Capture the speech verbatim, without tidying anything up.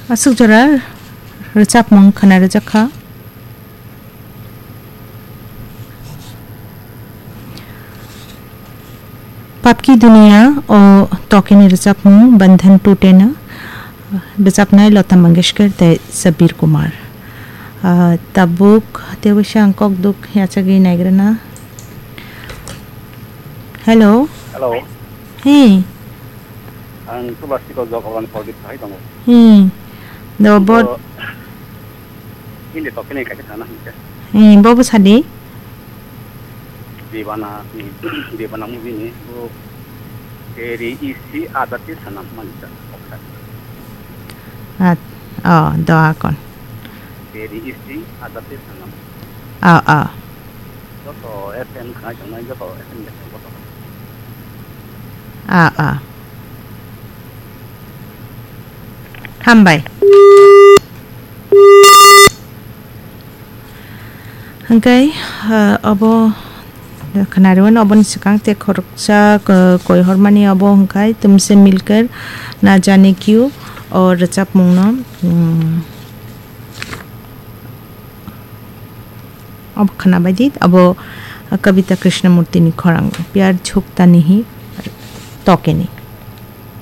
Aswk jora rwchapmung khwna rwjak kha. Papki Duniya o tokeni rwchapmung Bandhan Tute no rwchapnai Lata Mangeshkar tei Sabir Kumar. Ah, tabuk tei waisa ang kok duk yachagwi naigrana. Hello. Hello. Hey. Ang Tulasiko Jogabani Pradip hai tongo. Hmm. Do bot. Hindi to kene kaisa sana hingke. Hmm, bobo sadi. Debana, Debana movie ni bo Teri Isi Adati Sanam manisa. At, oh, doa kon. Teri Isi Adati Sanam. Ah, ah. Joto F M khnai tongnai, joto F M de joto. Ah, ah. Hambai. Hingke, ah, obo khwnariwano oboni swkang te khoroksa, ah, koi hormani obo hingkai Tumse Milkar Na Jane Kyu o rwchapmungno, mm, Obo khwnabaidi, abo Kavita Krishnamurtini khorang, Pyar Jhukta Nahi Tokeni.